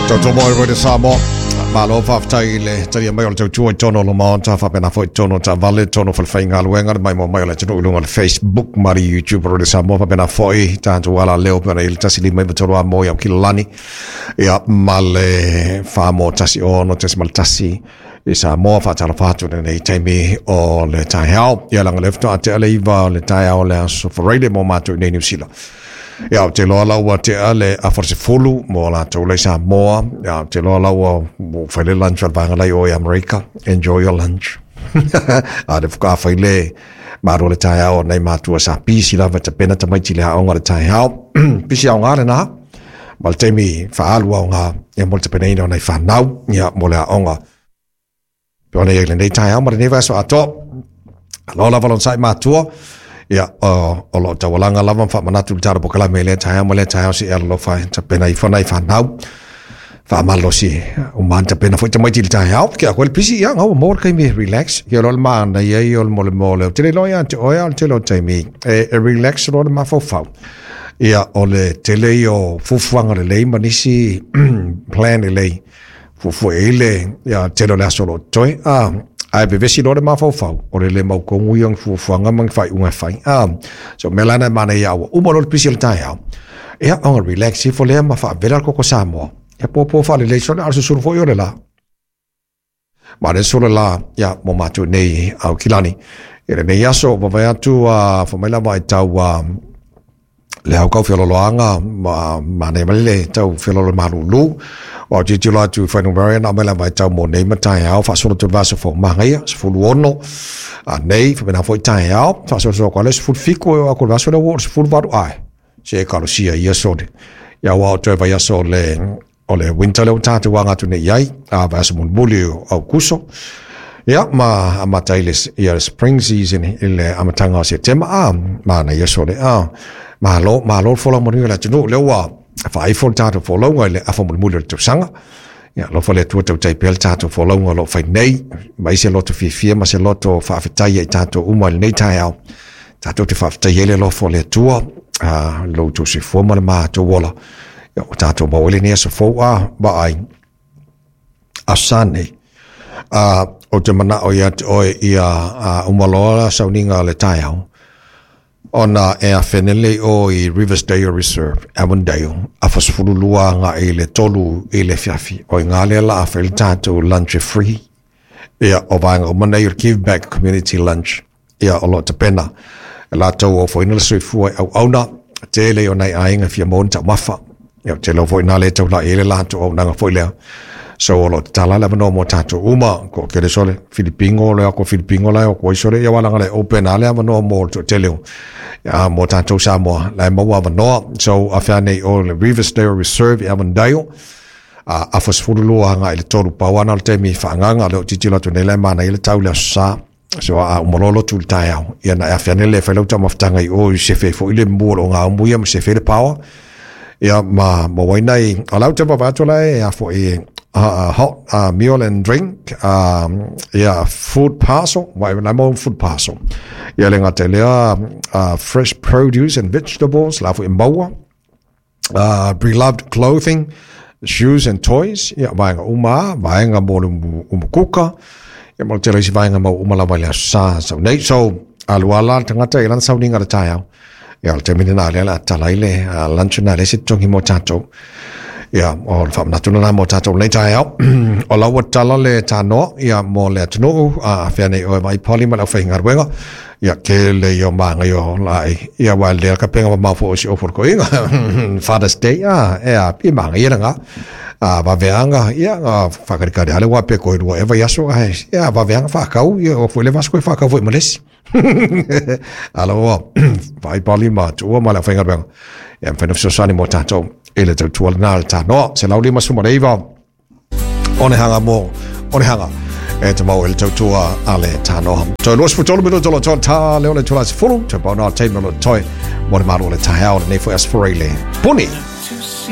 Tautua mo i Samoa. Malo faafetai i le talia mai o le tautua i totonu o le Maota, faapena foi i totonu o taavale, totonu o falefaigaluega, le maimoa mai o le atunuu i luga o le Facebook ma le YouTube o Radio Samoa, faapena foi tatou alaleo pei ona i ai le 159 a mo i Aukilani, ia ma le 4.16.1 i Samoa. Faatalofa atu i lenei taimi o le taeao. Ia leaga o lea faatoa tea le 9 o le taeao o le aso Faraile mo matou i nei Niu Sila. Ia, ou te iloa la ua tea le afa o le 10 mo latou la i Samoa. Ia, ou te iloa la ua fai le lunch a le vaega la i o i Amerika. Enjoy your lunch. A le faatoa fai le malu o le taeao o nai matua sa pisi lava e tapena tamaiti i le aoga o le taeao. Pisi aoga lena. Ma le taimi faaalu aoga ia mo le tapenaina o nai fanau ia mo le aoga. Pe ona i ai lenei taeao ma lenei vaiaso atoa. Alo lava lon sai matua. Ia, o lo o taualaga lava ma faamanatu le tala polokalame i lea taeao ma lea taeao seia alolofa e tapena ifo nai fanau. Faamalosi uma ana tapena foi tamaiti i le taeao. Ke a koe le pisi, ia, ngau mo le taimi e relax. Ke loa le manaia ia o le mole mo le. Ou te le iloa ia te oe, a o le tele o taimi e relax loa le mafaufau. Ia, o le tele ia o fuafuaga lelei ma nisi plan lelei. Fuafua i ai le ia, tele o le aso o lo o totoe, a, ae vevesi loa le mafaufau, o le le mautonu ia o ni fuafuaga ma ni faaiuga e fai. A, so o mea la na e manaia a ua uma loa le pisi o le taeao, ia ona relax ifo lea ma faavela le koko Samoa. Ia popo faalelei sole, a o le susunu foi o le la. Ma le sole la, ia, mo matou nei Aukilani. I lenei aso, vavae atu a, fai mai lava e tau a, le au kau feolooloaga ma manaia mai le tau feoloolo malulu. Ua tilotilo atu i fuainumera na aumai lava e tau mo nei ma taeao faasolo atu i le vaiaso fou manaia 16 a nei faapena foi taeao faasolosolo atu lava le 17 e oo atu i le vaiaso lea ua oo i le 18 ae se e kalosia ia sole. Ia ua oo toe vaiaso o le winter lea ua tatou aga atu nei i ai, a vaiaso mulimuli o Aukuso. Ia, ma amata ai le, ia le spring season i le amataga o Setema, a, manaia sole, a, malo, malo le folau manuia i le atunuu, lea ua faaifo le tatou folauga i le afa mulimuli o le tausaga. Ia, alofa le Atua tautai pea le tatou folauga o lo o fai nei, mai se loto fiafia ma se loto faafetai ia i tatou uma i lenei taeao. Tatou te faafetai ai le alofa o le Atua, a, lo outou soifua ma le matou ola. Ia, ua tatou maua ai lenei aso fou, a, vaai, aso Sa nei. A, ou te manao ia te oe ia a, uma loa sauniga o le taeao, ona e afene lea i o i Riversdale Reserve, Avondale, afa 12 agai i le 3 i le afiafi. O i ina lea la a fai le tatou lunch e free. Ia, o vaega uma nei o le Give Back Community Lunch. Ia, o lo o tapena e latou o ofoina le soifua i auauna, tele o nai aiga e fia maua ni taumafa. Ia, ou te iloa foi na le taulai ai le latou auaunaga foi lea. So, o lo o tatala le avanoa mo tatou uma, ko kele sole, Filipino, le ako Filipino la e o atu ai sole, ia wala le open a le avanoa mo le toatele o, ia, mo tatou Samoa, la e maua avanoa. So, a fea nei o le Riversdale Reserve i Avondale, a afa 12 agai i le 3, pau ana o le taimi faaagaga, lea o tilotilo atu nei la e manaia le tau i le aso Sa. So a uma loa lotu i le taeao, ia na e afe ane lea e fai lau taumafataga i o i sefe ai foi le mu o lo o gaumu ia ma sefe ai le power. Ia ma maua ai nai, o lau te vaavaai atu la e a foi hot meal and drink, ia food parcel, wa e mau food parcel. Ia le gata i lea fresh produce and vegetables, la foi e maua. Preloved clothing, shoes and toys, ia, vaega uma a, vaega mo le umukuka, ia ma le tele o isi vaega mau uma lava i le aso Sa sau nei. So, alu a la le tagata i lana sauniga i le taeao, ia, o le taimi lena lea o le a tala ai le lunch lena e leai se totogi mo tatou. Ia, o le faamanatu lena mo tatou i lenei taeao. O la ua tala le tanoa, ia, mo le atunuu, a fea nei oe vaai pali ma le aufaigaluega, Ia, tele ia o māngai o laʻi. Ia, aua e lea ka penga mamao foi o si ofu o le toeaina. Father's Day, a, e a, pi māngai ia lena. A, vaveaga, ia, a, whakarekare ale wā pe koe rua e vaiaso, ae, ia, vaveaga whakau, ia, o foi le vaso koe whakau foi ma le isi. Alo, vai pali ma tuua ma le awhaingaruega. Ia, mwhai na fesoasoani mo tātou i le tautua lena le tānoa. Se lau 59, Onehanga mo Onehanga e te mau e le tautua a le tānoa. Toi 23 minuto lo toi tā leo le tula se fulu, te pau nā teima lo toi mo le malu o le taeao le nei foi aso Faraile. Puni!